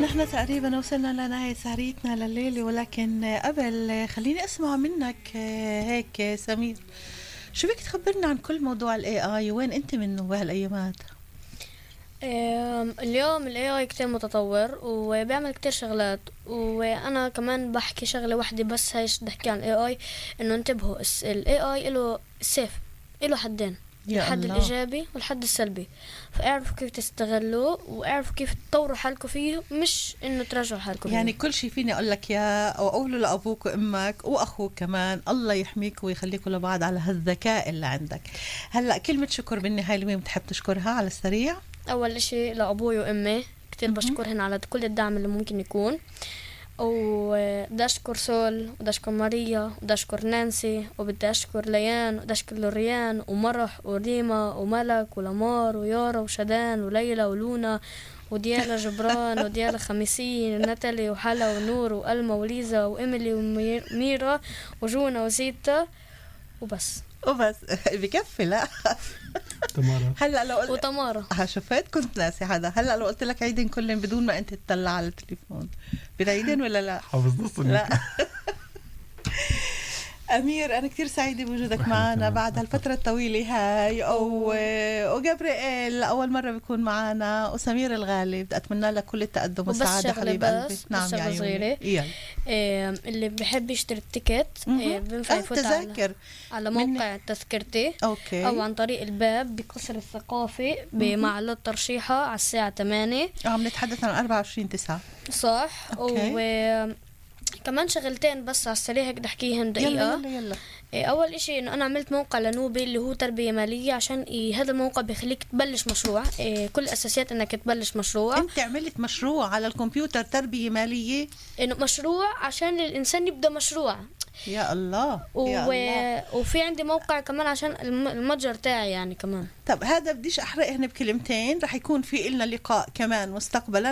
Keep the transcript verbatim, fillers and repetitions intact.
نحن تقريبا وصلنا لنهاية سهريتنا لليلة، ولكن قبل خليني أسمع منك هيك سمير، شو بك تخبرنا عن كل موضوع ال إيه آي وين أنت منه بهالأيامات؟ اليوم ال إيه آي كتير متطور وبيعمل كتير شغلات، وأنا كمان بحكي شغلة واحدة بس هايش بدي أحكي عن ال إيه آي، إنه انتبهوا ال إيه آي إله سيف، إله حدين، الحد الإيجابي والحد السلبي، فاعرفوا كيف تستغلوه واعرفوا كيف تطوروا حالكم فيه، مش إنه تراجعوا حالكم يعني فيه. كل شيء فيني أقول لك يا أو أقوله لأبوك وأمك وأخوك كمان، الله يحميك ويخليكم لبعض على هالذكاء اللي عندك. هلأ كلمة شكر بالنهاية لمين بتحب تشكرها على السريع؟ أول إشي لأبوي وأمي كتير بشكرهن على كل الدعم اللي ممكن يكون، وبدي أشكر سول وبدي أشكر ماريا وبدي أشكر نانسي وبدي أشكر ليان وبدي أشكر لوريان ومرح وريما وملك ولمار ويارا وشدان وليلى ولونا وديالا جبران وديالا خميسين وناتالي وحلا ونور وألما وليزا وإيميلي وميرا وجونا وزيتا وبس وبس بكفي. لا تمارا هلا لو قلت وتمارا ها شفت كنت ناسي هذا. هلا لو قلت لك عيدين كلهم بدون ما انت تطلع على التليفون بنعيدين ولا لا؟ حافظ نص لا أمير أنا كتير سعيدة بوجودك معنا بعد هالفترة الطويلة هاي، وجابرييل أول مرة بيكون معنا، وسمير الغالي بدي أتمنى لك كل التقدم والسعادة حبيب قلبي. نعم يا عيوني. إيه اللي بحب يشتري التيكت إيه بنفع يفوت على, على موقع تذكرتي أوكي. أو عن طريق الباب بقصر الثقافي بمعلات ترشيحة على الساعة ثمانية. عم نتحدث عن أربعة وعشرين تسعة صح. و كمان شغلتين بس على السريع هيك بدي احكيهم دقيقة. يلا يلا يلا. أول إشي إنه أنا عملت موقع لنوبي اللي هو تربية مالية، عشان هذا الموقع بيخليك تبلش مشروع، كل الأساسيات إنك تبلش مشروع. أنت عملت مشروع على الكمبيوتر تربية مالية؟ إنه مشروع عشان الإنسان يبدأ مشروع. يا الله و... يا الله. وفي عندي موقع كمان عشان المتجر تاعي يعني كمان. طب هذا بديش أحرقهن بكلمتين، رح يكون في إلنا لقاء كمان مستقبلا